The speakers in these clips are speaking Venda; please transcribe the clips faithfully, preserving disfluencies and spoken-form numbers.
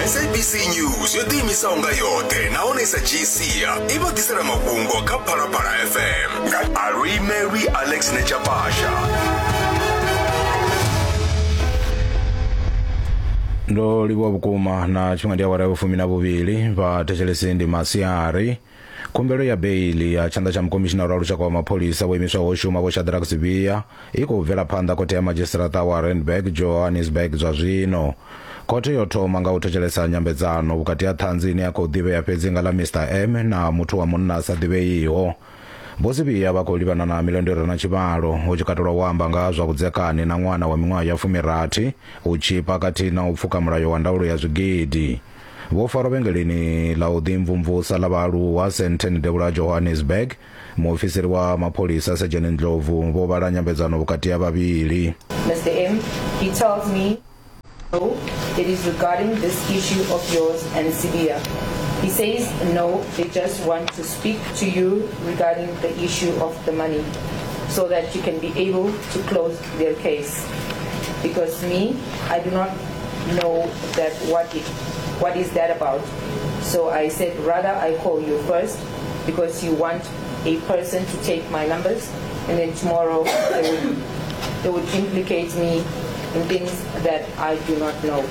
S A B C News yo ḓiimisaho nga yoṱhe nahone sa dzhii sia i vha ḓisela mafhungo kha Phalaphala F M nga Aluimelwi Alex Nechapasha. Ndo livhuwa vhukuma na tshifhinga ndi awara ya vhufumi na vhuvhili vha thetshelesi ndi masiari. Khumbelo ya beili ya tshanḓa tsha mukomishinara wa lushaka wa mapholisa vho imiswaho u shuma Vho Shadrack Sibiya i khou bvela phanḓa khothe ya madzhisiṱiraṱa wa Randburg, Johannesburg. Zwa zwino khothe yo thoma nga u thetshelesa nyambedzano vhukati ha ṱhanzi ine ya khou ḓivhea fhedzi nga ḽa Mister M na muthu wa munna a sa ḓivheiho. Vho Sibiya vha khou livhana na milandu i re na tshivhalo, hu tshi katelwa u amba nga ha zwa vhudzekani na ṅwana wa miṅwaha ya fumirathi, u tshipa khathihi na u pfuka mulayo wa ndaulo ya zwigidi. Vho farwa vhengeleni ḽa u ḓimvumvusa ḽa vhaaluwa Sandton, devhula ha Johannesburg. Muofisiri wa mapholisa Sedzheni Ndlovu vho vhala nyambedzano vhukati ha vhavhili. Mister M, he tells me, no, it is regarding this issue of yours and Sibiya. He says, no, they just want to speak to you regarding the issue of the money so that you can be able to close their case. Because me, I do not know that what it, what is that about. So I said, rather I call you first because you want a person to take my numbers and then tomorrow they would, they would implicate me in things that I do not know.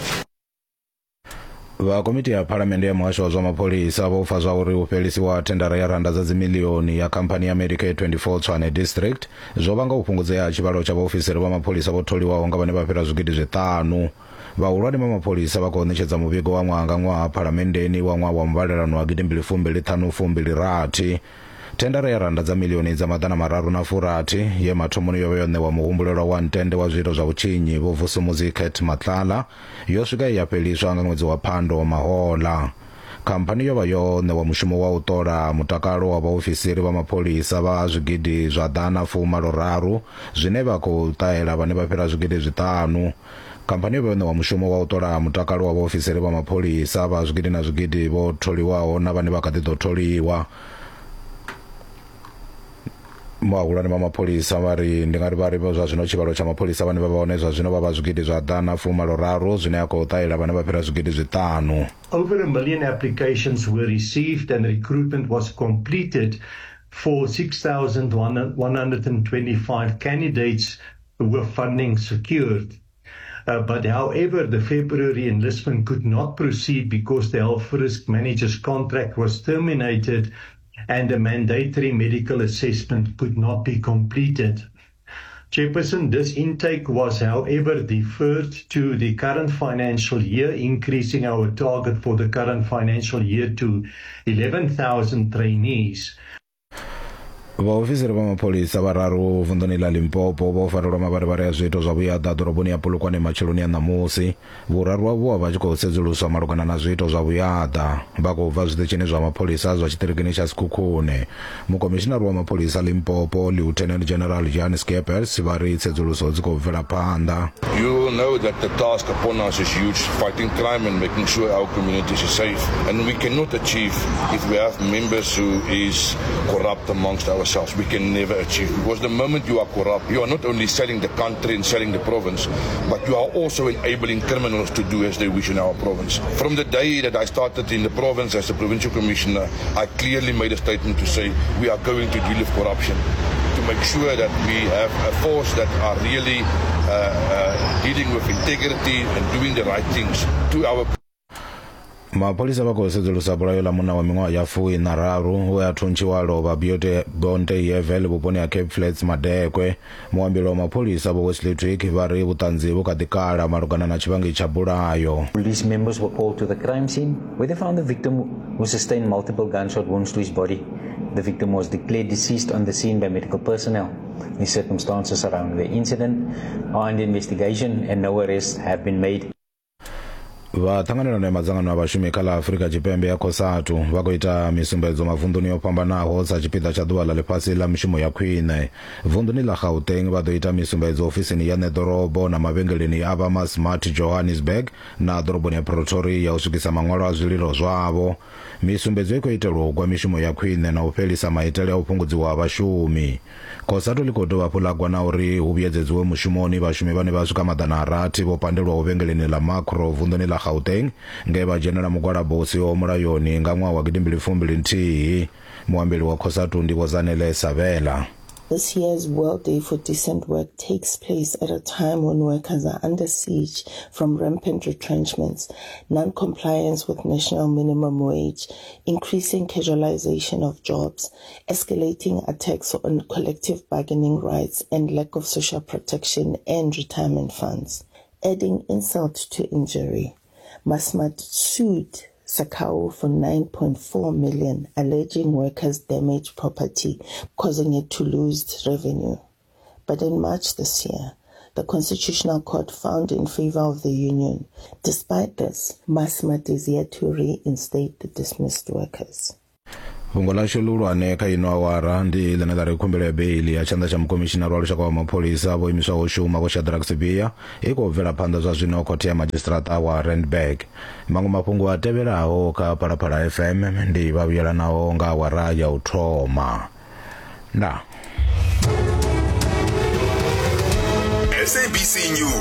Vha komiti ya phalamennde ya muhasho wa zwa mapholisa vho pfa zwa uri u fhelisiwa thendara ya randa dza dzimilioni ya khamphani ya Medicare twenty-four Tshwane District zwo vhanga u fhungudzea ha tshivhalo tsha vhaofisiri vha mapholisa vho tholiwaho nga vhane vha fhira zwigidi zwiṱanu. Vhahulwane vha mapholisa vha khou ṋetshedza muvhigo wa ṅwaha nga ṅwaha phalamenndeni wa ṅwaha wa muvhalelano wa gidimbili fumbili ṱhanu fumbili rathi. Thendara ya randa dza milioni dza maḓana mararu na furathi ye mathomoni yo vha yo ṋewa muhumbulelwa wa ntende wa zwiito zwa vhutshinyi Vho Vusumuzi Cat Matlala yo swika ya fheliswa nga ṅwedzi wa Phando mahola. Khamphani yo vha yo ṋewa mushumo wa u ṱola mutakalo wa vhaofisiri vha mapholisa vha zwigidi zwa ḓana fumalo raru zwine vha khou ṱahela vhane vha fhira zwigidi zwiṱanu. Khamphani yo vha yo ṋewa mushumo wa u ṱola mutakalo wa vhaofisiri vha mapholisa vha zwigidi na zwigidi vho tholiwaho na vhane vha kha ḓi ḓo tholiwa. Vhahulwane vha mapholisa vha ri ndi nga ri vha ri zwa zwino tshivhalo tsha mapholisa vhane vha vha hone zwa zwino vha vha zwigidi zwa ḓana fumalo raru zwine ya khou ṱahela vhane vha fhira zwigidi zwiṱanu. Over a million applications were received and recruitment was completed for six thousand one hundred twenty-five candidates with funding secured. Uh, but however, the February enlistment could not proceed because the health risk manager's contract was terminated and a mandatory medical assessment could not be completed. Chairperson, this intake was, however, deferred to the current financial year, increasing our target for the current financial year to eleven thousand trainees. Vhaofisiri vha mapholisa vhararu vunḓuni ḽa Limpopo vho farelwa mavharivhari a zwiito zwa vhuyaḓa ḓoroboni ya Polokwane matsheloni a ṋamusi. Vhuraru havho vha vha tshi khou sedzuluswa malugana na zwiito zwa vhuyaḓa vha khou bva zwiṱitshini zwa mapholisa zwa tshiṱirikini tsha Sekhukhune. Mukomishinari wa mapholisa Limpopo Lieutenant General Jan Scheepers vha ri tsedzuluso dzi khou bvela phanḓa. You will know that the task upon us is huge, fighting crime and making sure our communities are safe. And we cannot achieve if we have members who is corrupt amongst ourselves. We can never achieve, because the moment you are corrupt, you are not only selling the country and selling the province, but you are also enabling criminals to do as they wish in our province. From the day that I started in the province as a provincial commissioner, I clearly made a statement to say we are going to deal with corruption, to make sure that we have a force that are really uh, uh, dealing with integrity and doing the right things to our Mapholisa vha khou sedzulusa bulayo ḽa munna wa miṅwaha ya fuiṋa na raru we a thuntshiwa lovha Biote Bonte Yevel vhuponi ha Cape Flats madekwe. Muambeli wa mapholisa Vho Wesley Twigg vha ri vhuṱanzi vhu kha ḓi kala malugana na tshivhangi tsha bulayo. Police members were called to the crime scene, where they found the victim, who sustained multiple gunshot wounds to his body. The victim was declared deceased on the scene by medical personnel. The circumstances surrounding the incident are under investigation and no arrests have been made. Vha ṱhanganelano ya madzangano a vhashumi kha ḽa Afurika Tshipembe ya COSATU vha khou ita misumbedzo mavunḓuni o fhambanaho sa tshipiḓa tsha ḓuvha ḽa ḽifhasi ḽa mishumo ya khwine. Vunḓuni ḽa Gauteng vha ḓo ita misumbedzo ofisini ya ṋeḓorobo na mavhengeleni a vha Massmart Johannesburg na ḓoroboni ya Pretoria u swikisa maṅwalo a zwililo zwavho. Misumbedzo i khou itelwa u gwa mishumo ya khwine na u fhelisa maitele a u fhungudziwa ha vhashumi. COSATU ḽi khou dovha hafhu ḽa gwa na uri hu vhuyedzedziwe mushumoni vhashumi vhane vha swika maḓana a rathi vho pandelwaho vhengeleni ḽa Makro vunḓuni ḽa Gauteng nge vha dzhenela mugwalabo u siho mulayoni nga ṅwaha wa gidimbili fumbili nthihi. Muambeli wa COSATU ndi Vho Zanele Sabela. This year's World Day for Decent Work takes place at a time when workers are under siege from rampant retrenchments, non-compliance with national minimum wage, increasing casualization of jobs, escalating attacks on collective bargaining rights, and lack of social protection and retirement funds. Adding insult to injury, Massmart sued SACCAWU for nine point four million, alleging workers damaged property, causing it to lose revenue. But in March this year, the Constitutional Court found in favor of the union. Despite this, Massmart is yet to reinstate the dismissed workers. Fhungo ḽashu ḽihulwane kha ino awara ndi ḽine ḽa ri khumbelo ya beili ya tshanḓa tsha mukomishinara wa lushaka wa mapholisa vho imiswaho u shuma Vho Shadrack Sibiya i khou bvela phanḓa zwa zwino khothe ya madzhisiṱiraṱa wa Randburg. Maṅwe mafhungo a tevhelaho kha Phalaphala F M ndi vha vhuyelanaho nga awara ya u thoma. Ndaa. S A B C News.